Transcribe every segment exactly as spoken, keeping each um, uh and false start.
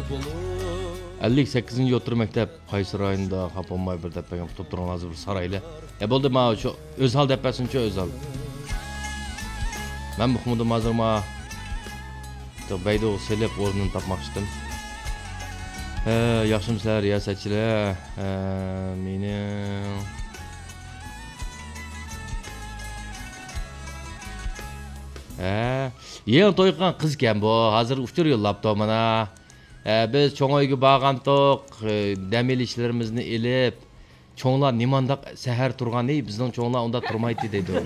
ئەللىك سەككىزىنچى ئوتتۇرا مەكتەپ قايسى رايوندا، خاپا بولماي بىر دەپ بەرگەن، قۇتۇپ تۇرۇڭ، ھازىر بىر سارايلى. يا بولدى، ماۋۇ شۇ ئۆزھال دەپ بەرسۇنچۇ، ئۆزھال. مەن ئۇقمىدىم ھازىر ما. بەيدۇغا سېلىپ ئورنىنى تاپماقچىدىم. ھە، ياخشىمۇسىلەر رىياسەتچىلەر؟ ھە، مېنىڭ، ھە، يېڭى توي قىلغان قىزكەن بۇ. ھازىر ئۇچۇر يوللاپتۇ مانا. ھە، بىز چوڭ ئۆيگە بارغانتۇق، دەم ئېلىشلىرىمىزنى ئېلىپ، چوڭلار نېمانداق سەھەر تۇرغان، ئەي، بىزنىڭ چوڭلار ئۇنداق تۇرمايتتى دەيدۇ.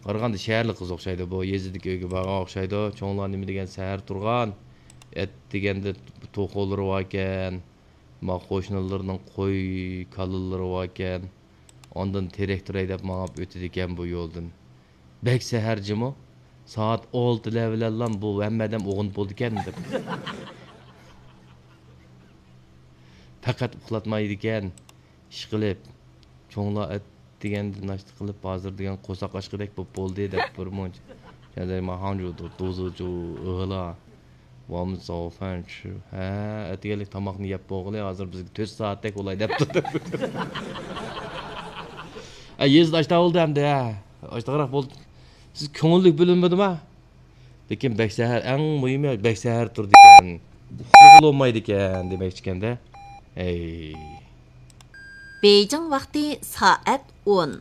قارىغاندا شەھەرلىك قىز ئوخشايدۇ بۇ، يېزىدىكى ئۆيگە بارغان ئوخشايدۇ. چوڭلار نېمە دېگەن سەھەر تۇرغان، ئەتىگەندە توخۇلىرى باركەن، ما قوشنىلىرىنىڭ قوي، كالىلىرى باركەن. ئاندىن تىراكتور ھەيدەپ ماڭىپ ئۆتىدىكەن بۇ يولدىن. بەك سەھەر جىمۇ، سائەت ئالتىلەر بىلەنلا بۇ ھەممە ئادەم ئويغىنىپ بولىدىكەن دەپ. پەقەت ئۇخلاتمايدىكەن. ئىشقىلىپ، چوڭلار ئەتىگەندە ناشتا قىلىپ، ھازىر دېگەن قورساق ئاچقۇدەك بولۇپ بولدى دەپ بىر مۇنچە. 现在马上就肚子就饿了，我们早饭吃. ھە، ئەتىگەنلىك تاماقنى يەپ بولغىلى، ھازىر بىزگە تۆت سائەتتەك بولاي دەپتۇ. ھە، يېزىدا ئاشتا بولدى ئەمدى، ھە. ئاشتاقراق بولدى. سىز كۆڭۈللۈك بۆلۈنمىدىما؟ لېكىن بەك سەھەر، ئەڭ مۇھىمى، بەك سەھەر تۇرىدىكەن. ئۇخلىغىلى بولمايدىكەن دېمەكچىكەندە. ھەي. بېيجىڭ ۋاقتى سائەت ئون.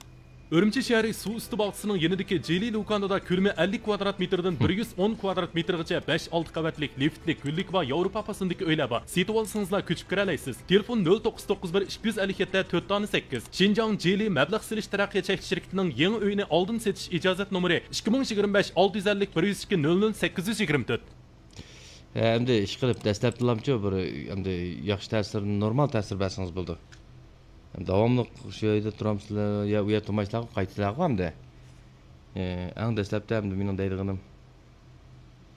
ئۈرۈمچى شەھىرى سۇ ئۈستى باغچىسىنىڭ يېنىدىكى جىلى لۇكانىدا كۆلىمى ئەللىك كۋادرات مېتىردىن بىر يۈز ئون كۋادرات مېتىرغىچە بەش، ئالتە قەۋەتلىك لىفتلىك، گۈللۈكى بار ياۋروپا پاسوندىكى ئۆيلەر بار. سېتىۋالسىڭىزلا كۆچۈپ كىرەلەيسىز. تېلېفون: نۆل توققۇز توققۇز بىر ئىككى يۈز ئەللىك يەتتە تۆت دانە سەككىز. شىنجاڭ جىلى مەبلەغ سېلىش تەرەققىيات چەكلىك شىركىتىنىڭ يېڭى ئۆيىنى ئالدىن سېتىش ئىجازەت نومۇرى: ئىككى مىڭ يىگىرمە بەش، ئالتە يۈز ئەللىك، بىر يۈز ئىككى، نۆل نۆل، سەككىز يۈز يىگىرمە تۆت. ھە، ئەمدى ئىشقىلىپ، دەسلەپتىلامچۇ بىر، ئەمدى ياخشى تەسىر، نورمال تەسىر بەرسىڭىز بولىدۇ. داۋاملىق شۇ يەردە تۇرامسىلەر يا ئۇ يەردە تۇرمايسىلەرغۇ، قايتىسىلەرغۇ ئەمدى؟ ئە، ئەڭ دەسلەپتە ئەمدى مېنىڭ دەيدىغىنىم،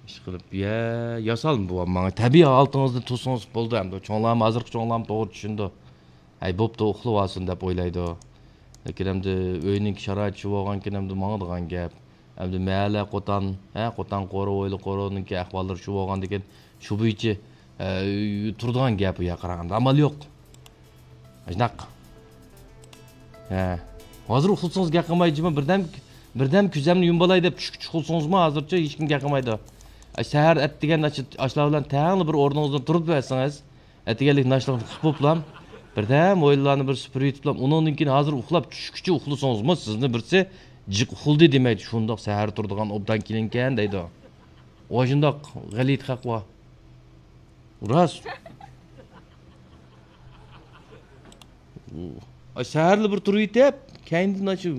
ئىشقىلىپ، يە، ياسالما بوۋام ماڭا، تەبىئىي ھالىتىڭىزنى تۇرسىڭىز بولدى ئەمدى. چوڭلارمۇ، ھازىرقى چوڭلارمۇ توغرا چۈشىنىدۇ. ھەي، بوپتۇ، ئۇخلىۋالسۇن دەپ ئويلايدۇ. لېكىن ئەمدى ئۆينىڭكى شارائىتى شۇ بولغانكىن، ئەمدى ماڭىدىغان گەپ. ئەمدى مەھەللە قوتان، ھە، قوتان قورۇ، ھويلا قورۇنىڭكى ئەھۋاللىرى شۇ بولغاندىكىن، شۇ بويىچە، ئە، تۇرىدىغان گەپ ئۇ يەر قاراغاندا. ئامال يوق. شۇنداق. ھە. ھازىر ئۇخلىسىڭىز گەپ قىلماي، جۇمۇ بىردەم، بىردەم كۆزەمنى يۇمۇۋالاي دەپ چۈشكىچە ئۇخلىسىڭىزمۇ ھازىرچە ھېچكىم گەپ قىلمايدۇ. ئە، سەھەر ئەتىگەن ئاشۇ، ئاشۇلار بىلەن تەڭلا بىر ئورنىڭىزدىن تۇرۇپ بەرسىڭىز، ئەتىگەنلىك ناشتىلىقنى قىلىپ بوپلام، بىردەم ھويلىلارنى بىر سۈپۈرۈپ يېتىپلام، ئۇنىڭدىن كېيىن ھازىر ئۇخلاپ چۈشكىچە ئۇخلىسىڭىزمۇ، سىزنى بىرسى جىق ئۇخلىدى دېمەيدۇ، شۇنداق سەھەر تۇرىدىغان ئوبدان كېلىنكەن دەيدۇ. ئاشۇنداق غەلىتە خەق بار. راست. ئاي، سەھەرلا بىر تۇرۇۋېتىپ، كەينىدىن ئاشۇ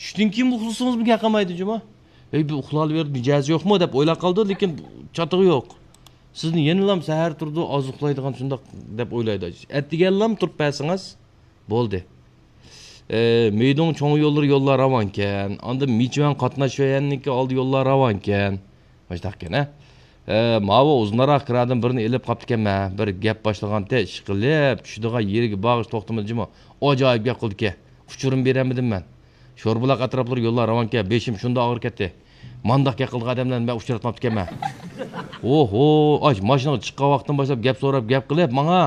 چۈشتىن كېيىن ئۇخلىسىڭىزمۇ گەپ قىلمايدۇ جۇمۇ. ھەي، بۇ ئۇخلالىۋېرىدۇ، مىجەزى يوقمۇ دەپ ئويلاپ قالىدۇ، لېكىن چاتىقى يوق. سىزنى يەنىلام سەھەر تۇرىدۇ، ئاز ئۇخلايدىغان شۇنداق دەپ ئويلايدۇ. ئەتىگەنلام تۇرۇپ بەرسىڭىز بولدى. ئە، مېيدۇڭ چوڭ يوللىرى يوللار راۋانكەن. ئاندىن مىچۈەن قاتناش شۆيەننىڭكى ئالدى يوللار راۋانكەن. مۇشۇنداقكەن، ھە؟ ئە، ماۋۇ ئۇزۇنراق كىرادىن بىرنى ئېلىپ قاپتىكەنمەن. بىر گەپ باشلىغانتى، ئىشقىلىپ، چۈشىدىغان يېرىگە بارغىچە توختىمىدى جۇمۇ. ئاجايىپ گەپ قىلدىكەن. ئۇچۇرۇم بېرەلمىدىم مەن. شوربۇلاق ئەتراپلىرى يوللار راۋانكەن، بېشىم شۇنداق ئاغرىپ كەتتى. مانداق گەپ قىلىدىغان ئادەملەرنى مەن ئۇچراتماپتىكەنمەن. ئوھو، ئاش، ماشىنىغا چىققان ۋاقتىدىن باشلاپ گەپ سوراپ، گەپ قىلىپ ماڭا.